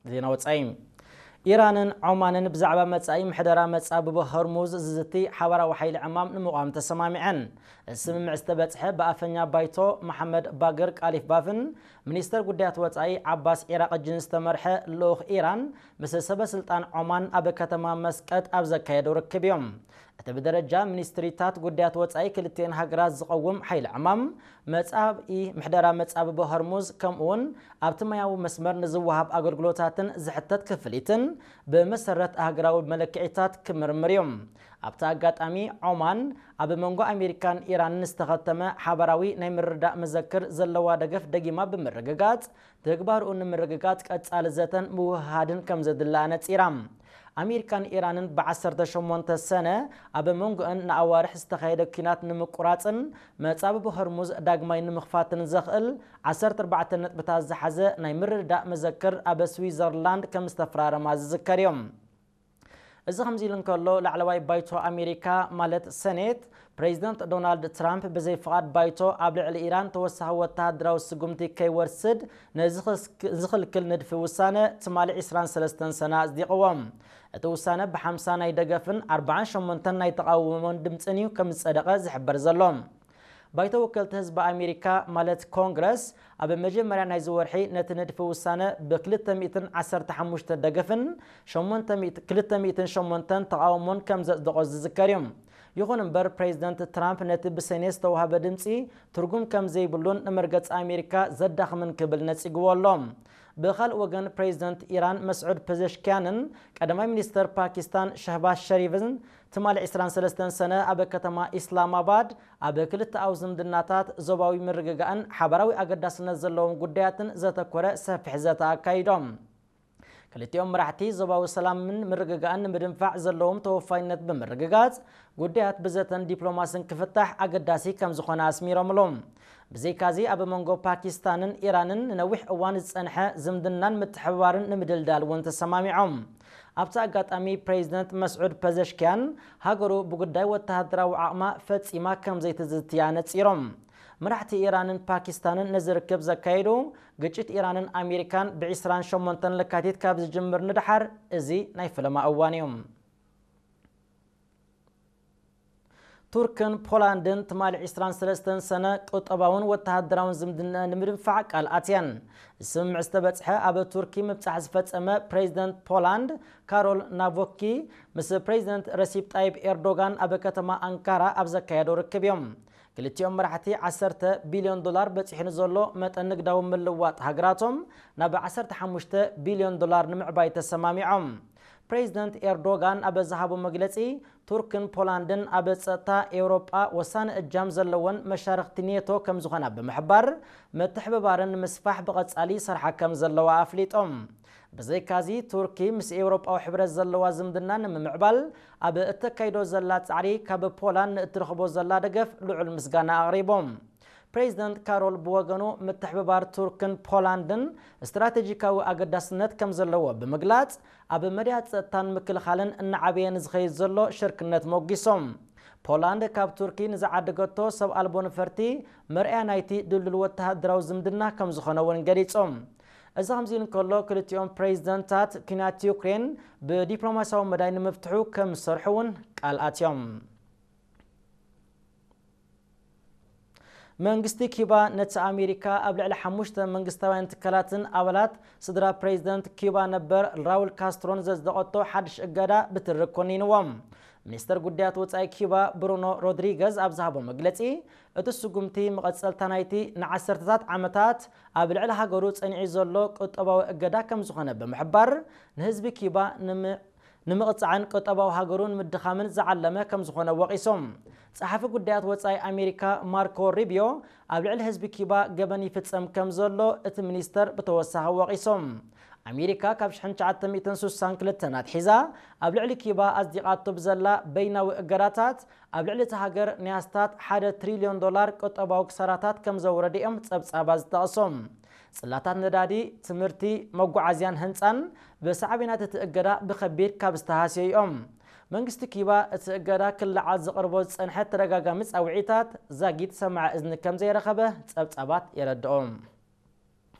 ዜና ወጻኢ። ኢራንን ዖማንን ብዛዕባ መጻኢ ምሕደራ መጻብቦ ሆርሙዝ ዝዝቲ ሓባራዊ ሓይሊ ዕማም ንምቋም ተሰማሚዐን። እዚ ስምምዕ ዝተበጽሐ ብኣፈኛ ባይቶ መሓመድ ባግር ቃሊፍ ባፍን ሚኒስተር ጉዳያት ወጻኢ ዓባስ ዒራቕጅን ዝተመርሐ ልኡኽ ኢራን ምስ ሰበ ስልጣን ዖማን ኣብ ከተማ መስቀጥ ኣብ ዘካየደው ርክብ እዮም። እቲ ብደረጃ ሚኒስትሪታት ጉዳያት ወጻኢ ክልቲኤን ሃገራት ዝቐውም ሓይሊ ዕማም፣ መጻኢ ምሕደራ መጻብቦ ሆርሙዝ፣ ከምኡውን ኣብቲ ማያዊ መስመር ንዝወሃብ ኣገልግሎታትን ዝሕተት ክፍሊትን ብመሰረት ኣህጉራዊ መለክዒታት ክምርምር እዩ። ኣብቲ ኣጋጣሚ፣ ዖማን ኣብ መንጎ ኣሜሪካን ኢራንን ዝተኸተመ ሓባራዊ ናይ ምርዳእ መዘክር ዘለዋ ደገፍ ደጊማ ብምርግጋጽ፣ ተግባርኡ ንምርግጋጽ ቀጻሊ ዘተን ምውህሃድን ከም ዘድሊ ኣነጺራ። ኣሜሪካን ኢራንን ብ ዓሰርተ ሸሞንተ ሰነ ኣብ መንጎአን ንኣዋርሕ ዝተኻየደ ኲናት ንምቁራጽን መጻብቦ ሆርሙዝ ዳግማይ ንምኽፋትን ዘኽእል ዓሰርተ ኣርባዕተ ነጥብታት ዝሓዘ ናይ ምርድዳእ መዘክር ኣብ ስዊዘርላንድ ከም ዝተፈራረማ ዝዝከር እዩ። እዚ ከምዚ ኢሉ እንከሎ፣ ላዕለዋይ ባይቶ ኣሜሪካ ማለት ሰኔት፣ ፕሬዚደንት ዶናልድ ትራምፕ ብዘይ ፍቓድ ባይቶ ኣብ ልዕሊ ኢራን ተወሳኺ ወተሃደራዊ ስጉምቲ ከይወስድ ንዝኽልክል ንድፊ ውሳነ ትማሊ ዕስራን ሰለስተን ሰነ ኣጽዲቕዎ። እቲ ውሳነ ብ ሓምሳ ናይ ደገፍን ኣርባዓን ሸሞንተን ናይ ተቓውሞን ድምጽን እዩ ከም ዝጸደቐ ዝሕበር ዘሎ። ባይቶ ወከልቲ ህዝቢ ኣሜሪካ ማለት ኮንግረስ ኣብ መጀመርያ ናይዚ ወርሒ ነቲ ንድፊ ውሳነ ብ ክልተ ሚእትን ዓሰርተ ሓሙሽተ ደገፍን ሸሞንተ ሚእቲ፣ ክልተ ሚእትን ሸሞንተን ተቓውሞን ከም ዘጽደቖ ዝዝከር እዩ። ይኹን እምበር፣ ፕሬዚደንት ትራምፕ ነቲ ብሰኔት ዝተዋህበ ድምጺ ትርጉም ከም ዘይብሉን ንመርገጺ ኣሜሪካ ዘዳኽምን ክብል ነጺግዎ ኣሎ። ብኻልእ ወገን፣ ፕሬዚደንት ኢራን መስዑድ ፐዘሽኪያንን ቀዳማይ ሚኒስተር ፓኪስታን ሸህባዝ ሸሪፍን ትማሊ ዕስራን ሰለስተን ሰነ ኣብ ከተማ ኢስላማባድ ኣብ ክልተኣዊ ዝምድናታት፣ ዞባዊ ምርግጋእን ሓባራዊ ኣገዳስነት ዘለዎም ጉዳያትን ዘተኮረ ሰፊሕ ዘተ ኣካይዶም። ክልቲኦም መራሕቲ ዞባዊ ሰላምን ምርግጋእን ንምድንፋዕ ዘለዎም ተወፋይነት ብምርግጋጽ፣ ጉዳያት ብዘተን ዲፕሎማስን ክፍታሕ ኣገዳሲ ከም ዝኾነ ኣስሚሮምሉ። ብዘይካዚ፣ ኣብ መንጎ ፓኪስታንን ኢራንን ንነዊሕ እዋን ዝጸንሐ ዝምድናን ምትሕብባርን ንምድልዳል እውን ተሰማሚዖም። ኣብቲ ኣጋጣሚ፣ ፕሬዚደንት መስዑድ ፐዘሽኪያን ሃገሩ ብጉዳይ ወተሃደራዊ ዓቕማ ፈጺማ ከም ዘይትዝትያ ነጺሮም። መራሕቲ ኢራንን ፓኪስታንን ነዚ ርክብ ዘካየዱ፣ ግጭት ኢራንን ኣሜሪካን ብ ዕስራን ሸሞንተን ለካቲት ካብ ዝጅምር ንደሓር፣ እዚ ናይ ፈለማ እዋን እዩ። ቱርክን ፖላንድን ትማሊ ዕስራን ሰለስተን ሰነ ቁጠባውን ወተሃደራውን ዝምድና ንምድንፋዕ ቃል ኣትየን። ስምምዕ ዝተበጽሐ ኣብ ቱርኪ ምብጻሕ ዝፈጸመ ፕሬዚደንት ፖላንድ ካሮል ናቮኪ ምስ ፕሬዚደንት ረሲፕ ጣይብ ኤርዶጋን ኣብ ከተማ ኣንካራ ኣብ ዘካየዶ ርክብ እዮም። ክልቲኦም መራሕቲ ዓሰርተ ቢልዮን ዶላር በጺሑ ንዘሎ መጠን ንግዳዊ ምልዋጥ ሃገራቶም ናብ ዓሰርተ ሓሙሽተ ቢልዮን ዶላር ንምዕባይ ተሰማሚዖም። ፕሬዚደንት ኤርዶጋን ኣብ ዝሃቦ መግለጺ፣ ቱርክን ፖላንድን ኣብ ጸጥታ ኤውሮጳ ወሳኒ እጃም ዘለወን መሻርኽቲ ኔቶ ከም ዝኾና ብምሕባር፣ ምትሕብባረን ንምስፋሕ ብቐጻሊ ይሰርሓ ከም ዘለዋ ኣፍሊጦም። ብዘይካዚ፣ ቱርኪ ምስ ኤውሮጳዊ ሕብረት ዘለዋ ዝምድና ንምምዕባል ኣብ እተካይዶ ዘላ ጻዕሪ ካብ ፖላንድ ንእትረኽቦ ዘላ ደገፍ ልዑል ምስጋና ኣቕሪቦም። ፕሬዚደንት ካሮል ብወገኑ፣ ምትሕብባር ቱርክን ፖላንድን ስትራቴጂካዊ ኣገዳስነት ከም ዘለዎ ብምግላጽ፣ ኣብ መዳያት ጸጥታን ምክልኻልን እናዓበየ ንዝኸይድ ዘሎ ሽርክነት ሞጒሶም። ፖላንድ ካብ ቱርኪ ንዝዓደገቶ ሰብ ኣልቦ ነፈርቲ መርኣያ ናይቲ ድልዱል ወተሃደራዊ ዝምድና ከም ዝኾነ እውን ገሊጾም። እዚ ከምዚ ኢሉ እንከሎ፣ ክልቲኦም ፕሬዚደንታት፣ ኲናት ዩክሬን ብዲፕሎማስያዊ መዳይ ንምፍትሑ ከም ዝሰርሑ እውን ቃል ኣትዮም። መንግስቲ ኪባ ነቲ ኣሜሪካ ኣብ ልዕሊ ሓሙሽተ መንግስታውያን ትካላትን ኣባላት ስድራ ፕሬዚደንት ኪባ ነበር ራውል ካስትሮን ዘጽደቐቶ ሓድሽ እገዳ ብትሪ ኮኒንዎ። ሚኒስተር ጉዳያት ወጻኢ ኪባ ብሩኖ ሮድሪገዝ ኣብ ዝሃቦ መግለጺ፣ እቲ ስጉምቲ መቐጸልታ ናይቲ ንዓሰርተታት ዓመታት ኣብ ልዕሊ ሃገሩ ጸኒዑ ዘሎ ቁጠባዊ እገዳ ከም ዝኾነ ብምሕባር፣ ንህዝቢ ኪባ ንሚ-፣ ንምቕጻዕን ቁጠባዊ ሃገሩ ንምድኻምን ዝዓለመ ከም ዝኾነ ወቒሶም። ጸሓፊ ጉዳያት ወጻኢ ኣሜሪካ ማርኮ ሩቢዮ፣ ኣብ ልዕሊ ህዝቢ ኪባ ገበን ይፍጸም ከም ዘሎ እቲ ሚኒስተር ብተወሳኺ ወቒሶም። ኣሜሪካ ካብ ሽሕን ትሽዓተ ሚእትን ስሳን ክልተን ኣትሒዛ ኣብ ልዕሊ ኪባ ኣጽዲቓቶ ብዘላ በይናዊ እገዳታት፣ ኣብ ልዕሊ እቲ ሃገር ናይ ኣስታት ሓደ ትሪልዮን ዶላር ቁጠባዊ ክሳራታት ከም ዘውረደ እዮም ጸብጻባት ዝጠቕሶም። ጽላታት ነዳዲ፣ ትምህርቲ፣ መጓዓዝያን ህንጻን ብሳዕቤናት እቲ እገዳ ብኸቢድ ካብ ዝተሃስዩ እዮም። መንግስቲ ኪባ እቲ እገዳ ክለዓል ዘቕርቦ ዝጸንሐ ተደጋጋሚ ጻውዒታት ዛጊት ሰማዒ እዝኒ ከም ዘይረኸበ ጸብጻባት የረድኦም።